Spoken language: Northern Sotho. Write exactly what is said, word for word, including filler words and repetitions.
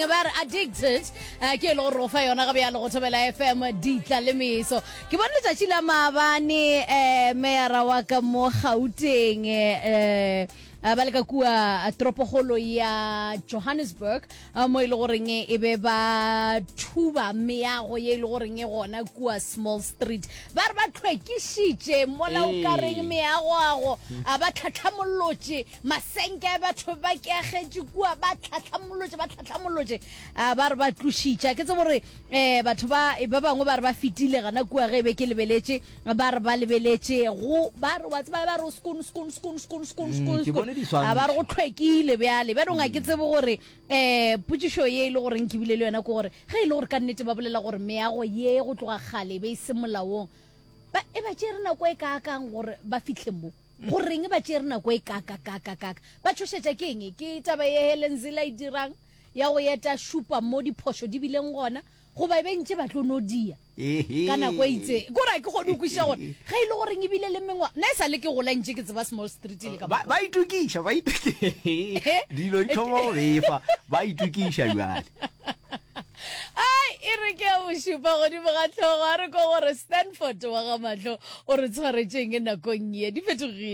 Ba re Addicted, eh, ke e le gore go fa yona ga bjalo go Thobela F M, ditla le meso. Ke bone letšatši la maabane, um meyara wa ka mo Gauteng, um ba le ka kua toropokgolo ya Johannesburg, eh, mo e le goreng e be ba thuba meago ye e le goreng e gona kua Small Street. Ba re ba tlhwekišitše mola o ka reng meagoago, a ba tlhatlhamolotše masenke a batho ba keagetše kua, ba tlhatlhamolotše, ba tlhatlhamolotše, a ba re ba tlošitše. Ke tsebo gore um batho ba ba bangwe ba re ba fetile gana kua ge e be ke lebeletše, ba re ba lebeletše go ba re wa tseba, ba re o skoon skoon skoon skoon skoon skoon. Ke bone diswantšho. A ba re go tlhwekile bjale. Bjanong a ke tsebe gore um potšišo ye e le goreng ke bile le yona ke gore ge e le gore ka nnete ba bolela gore meago ye go tloga kgale e be e se molaong, ba e ba tšere nako e kaakang gore ba fitlhe mo? Goreng ba tšere nako e kakakakakaka? Ba tšhošetša ke eng? Ke taba ye Helen Zille e dirang ya go eta šupa mo diphošo di bileng gona, goba e be ntše ba tlo no dia ka nako e itseng? Kore a ke kgone go kwešiša gore ge e le goreng ebile le mengwa nna e sa le ke gola ntše ke tseba Small Street le ka ba ba itokiša, ba itokiša, dilo di thoma go befa, ba itokiša bjale. Ai, e re ke ya bošupa godimo ga tlhogo, a re ko gore Stanford wa ga mahlo o re tshwaretšeng nakong ye di fetogile.